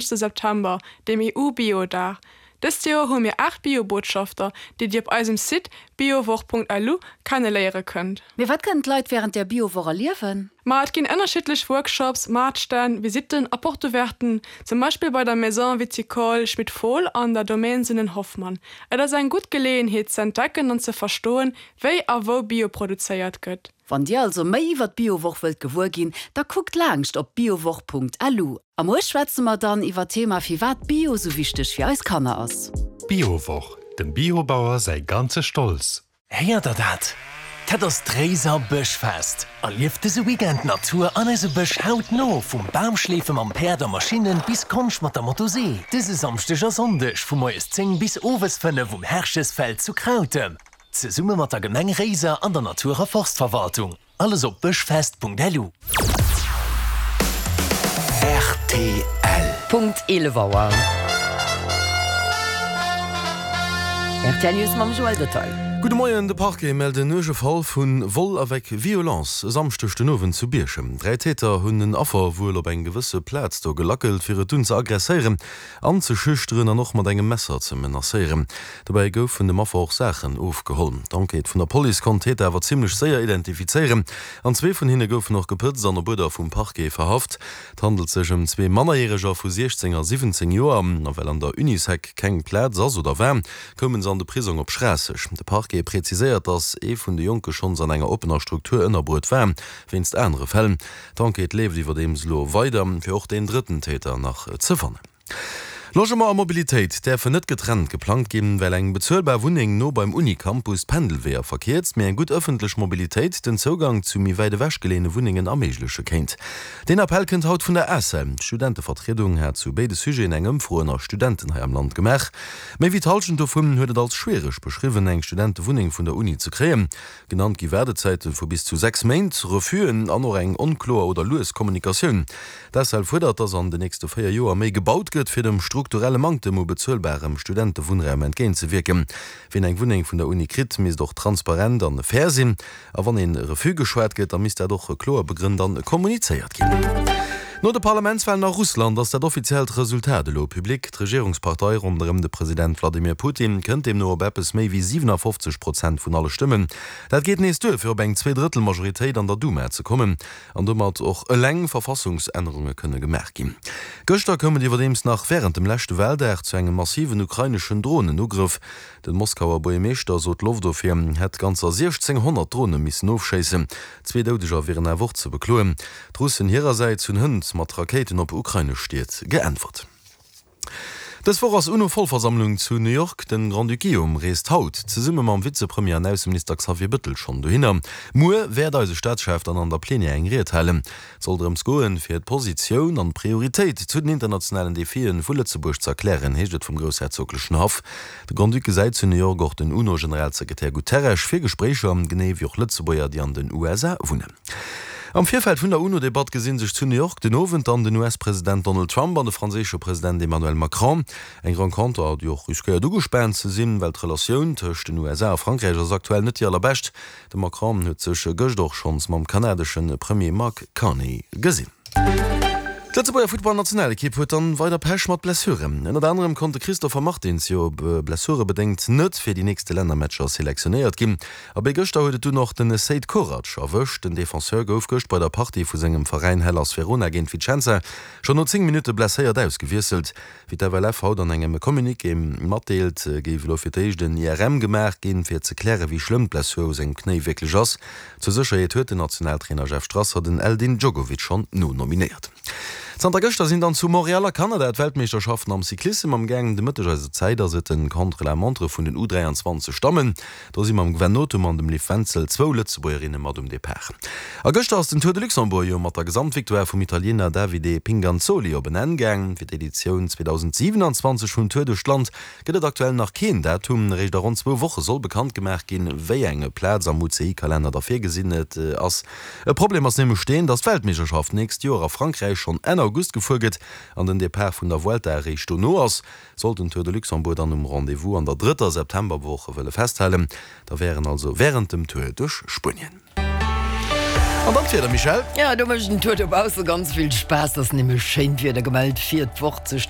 September, dem EU-Bio-Dag. Dëst Joer hu mir 8 Bio-Botschafter, déi Dir op eisem Site biowoch.lu kenneléiere kënnt. Mee wat kënnen d'Leit wärend der Biowoch erliewen? Ma et ginn ënnerschiddlech Workshops, Maartstänn, Visitten a Porte Ouverten, zum Beispill bei der Maison Viticole Schmit-Fohl an der Domaine Sinnen-Hoffmann. Et ass eng gutt Geleeënheet ze entdecken an ze verstoen, wéi a wou Bio produzéiert gëtt. Wann dir also méi iwwer d'Biowoch wëllt gewuer ginn, da kuckt laangscht op biowoch.lu. A muer schwätze mer dann iwwer d'Thema firwat Bio sou wichteg fir eis Kanner ass. D'Biowoch, dem Biobauer säi ganze Stolz! Héiert der dat? Dat ass d'Réiser Bëschfest! Erlieft dëse Weekend d'Natur an eise Bësch hautno, vum Bamschleefe mam Päerd a Maschinnen bis Konscht mat der Motosee. Dëse Samschdeg a Sonndeg vu moies 10 bis owes 5 um Herchesfeld zu Krautem. Zesumme mat der Gemeng Réiser an der Natur a Forstverwaltung. Alles op bëschfest.lu. Rtl. Punkt 11 Auer. Rtl News mam Joël Detail. Gudde Moien, De Parquet mellt en uerge Fall vu Vol avec violence e Samschdeg den Owend zu Bierchem. 3 Täter hunn en Affer wuel op eng gewësse Plaz do gelackelt, fir et dunn ze aggresséieren. Anzeschüchteren an och mat engem Messer ze menacéieren. Dobäi goufen dem Affer och Saachen ofgeholl. D'Enquête vun der Police konnt d'Täter awer zimmlech séier identifizéieren an zwee vun hinne goufen och gepëtzt an op Uerder vum Parquet verhaft. Et handelt sech ëm zwee Mannerjäreger vu 16 a 17 Joer. A well an der Unisec keng Plaz ass oder war, koumen se an de Prisong op Schraasseg. De Parquet präziséiert, datt ee vun de Jonke schonns an enger oppener Struktur ënnerbruet war, wéinst anere Fäll. D'Enquête leeft iwwerdeems elo weider, fir och deen drëtten Täter nach ze fannen. Logement a Mobilitéit däerfen net getrennt geplangt ginn, well eng bezuelbar Wunneng no beim Uni-Campus d'Pendelweeër verkierzt, mee eng gutt ëffentlech Mobilitéit den Zougang zu méi wäit ewech geleeëne Wunnengen erméigleche kéint. Deen Appell kënnt haut vun der ACEL. D'Studentevertriedung hat zu béide Sujeten eng Ëmfro ënner Studenten hei am Land gemaach. Méi wéi d'Hallschent dovun huet et als schwiereg beschriwwen, eng Studentewunneng vun der Uni ze kréien. Genannt gi Waardezäite vu bis zu 6 Méint, Refusen an och eng onkloer oder lues Kommunikatioun. D'ACEL fuerdert, datt an de nächste 4 Joer méi gebaut gëtt, fir dem strukturelle Manktem u bezuelbarem Studentewunnraum entgéintzewierken. Wien eng Wunneng vun der Uni kritt, misst och transparent an fair sinn. A wann ee Refus geschwat gëtt, da misst dat och kloer begrënnt an kommunizéiert ginn. No de Parlamentswalen a Russland ass dat offiziellt Resultat elo public. D'Regierungspartei ronderëm de President Wladimir Putin kënnt deemno op eppes méi wéi 57 Prozent vun alle Stëmmen. Dat geet nees duer, fir op eng Zweedrëttel-Majoritéit an der Duma ze kommen an domat och eleng Verfassungsännerunge kënne gemaach ginn. Gëschter koum et iwwerdeems nach wärend dem leschte Waldag zu engem massiven ukraineschen Dronenugrëff. Den Moskauer Buergermeeschter sot, d'Loftofwier hätt ganzer 1.600 Drone missen ofschéissen. Zwee Doudeger wieren awer och ze bekloen. D'Russen hirersäits hunn hënt mat Rakéiten op ukrainesch Stied geäntwert. Dës Woch ass UNO-Vollversammlung zu New York. Den Grand-Duc Guillaume reest haut zesumme mam Vizepremier an Ausseminister Xavier Bëttel schonn dohinner. Muer wäert eise Staatschef dann an der Plenière eng Ried halen. Et soll drëms goen, fir d'Positioun an d'Prioritéit zu den internationalen Defien vu Lëtzebuerg ze erklären, heescht et vum groussherzoglechen Haff. De Grand-Duc gesäit zu New York och den UNO-Generalsekretär Guterres fir Gespréicher, genee wéi och Lëtzebuerger, déi an den USA wunnen. Am Virfeld vun der UNO-Debatt gesi sech zu New York den Owend dann den US-President Donald Trump an de franséische President Emmanuel Macron. Eng Renconter, déi och riskéiert ugespaant ze sinn, well d'Relatioun tëscht den USA a Frankräich ass aktuell net déi allerbescht. De Macron huet sech gëscht och schonns mam kanadesche Premier Mark Carney gesinn. D'Lëtzebuerger Futtballnationalekipp huet dann weider Pech mat Blessuren. Ënnert anerem konnt de Christopher Martins jo blessurebedéngt net fir déi nächste Lännermatcher selektionéiert ginn. A béi gëschter huet et dunn och den Seid Korac erwëscht. Den Defenseur gouf gëscht bei der Partie vu sengem Veräin Hellas Verona géint Vicenza schonn no 10 Minutte blesséiert ausgewiesselt. Wéi d'FLF haut an engem Communiqué matdeelt, géif elo fir d'éischt en IRM gemaach ginn, fir ze klären, wéi schlëmm d'Blessur u sengem Knéi wierklech ass. Zur Sécherheet huet den Nationaltrainer Jeff Strasser den Eldin Djogovic schonn nonominéiert. Zanter gëschter sinn dann zu Montréal a Kanada d'Weltmeeschterschaften am Cyclissem am Gaang. De Mëtteg eiser Zäit ass et den Contre-la-montre vun den U23 Dammen. Do si mam Gwen Nothum an dem Liv Wenzel zwou Lëtzebuergerinne mat um Depart. A gëschter ass den Tour de Luxembourg jo mat der Gesamtvictoire vum Italiener Davide Pinganzoli op en Enn gaang. Fir d'Editioun 2027 vum Tour duerch d'Land gëtt et aktuell nach keen Datum. Eréischt a ronn zwou Woche soll bekannt gemaach ginn, wéi eng Plaz am UCI-Kalenner da virgesinn ass. E Problem ass nämlech deen, datt d'Weltmeeschterschaft d'nächst Joer a Frankräich schonn Enn August gefuer gëtt an den Depart vun der Vuelta eréischt dono ass. Sollt den Tour de Luxembourg dann um Rendez-vous an der drëtter Septemberwoch wëlle festhalen, da wär en also wärend dem Tour duerch Spuenien. An dann d'Wieder, Michèle? Jo, do mécht den Tour dobausse ganz vill Spaass. Et ass nämlech schéint Wieder gemellt fir d'Woch ze starten.